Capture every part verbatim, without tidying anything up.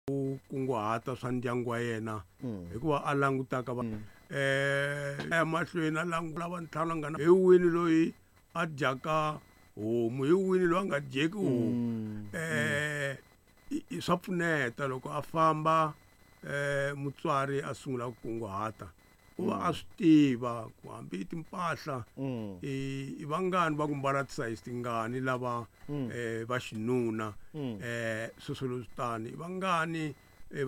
Ku kunguhata swa ndyangu wa yena hikuva a langutaka va eh emahlweni a langula va ntlhanu nga na hi wini loyi a dyaka homu, hi wini loyi a nga dyeki homu. eh swa pfuneta loko a famba eh mutswari a sungula ku kunguhata, u va a swi tiva ku hambi timpahla i vangani va ku mbala tisayizi tingani lava eh va xinuna, eh sweswo leswi tani i vangani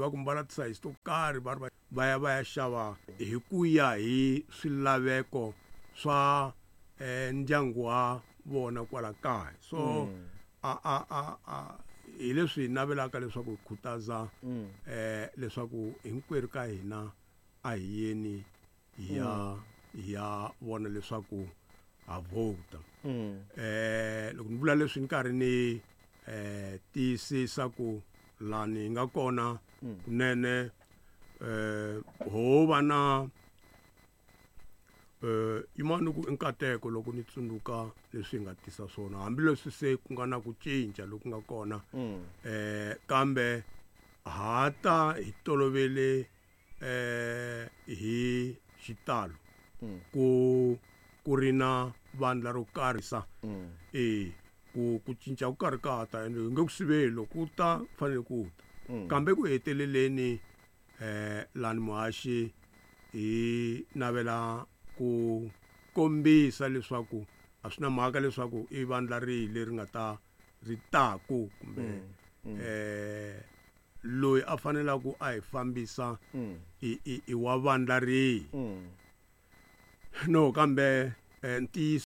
va ku mbala tisayizi to karhi va ri va ya va ya xava hi ku ya hi swilaveko swa eh ndyangu wa vona kwala kaya. So a a a a hi leswi hi navelaka leswaku hi khutaza eh leswaku hinkwerhu ka hina a hi yeni hi ya hi ya vona leswaku ha vhota. Eh loko ni vula leswi ni karhi ni eh tiyisisa ku lani hi nga kona kunene eh ho va na eh yimani ku i nkateko loko ni tsundzuka leswi hi nga tisa swona, hambileswi se ku nga na ku cinca loku nga kona eh kambe ha ta hi tolovele eh hi xitalo ku ku ri na vandla ro karhi sa eh ku ku cinca ku karhi ka ta ende hi nge ku siveli loko ku ta fanele ku ta, kambe ku heteleleni eh lani muhaxi hi navela ku kombisa leswaku a swi na mhaka leswaku i vandla rihi leri nga ta ri taku kumbe eh loyi a fanelaka a hi fambisa i i i wa vandla rihi. No kambe ntiyiso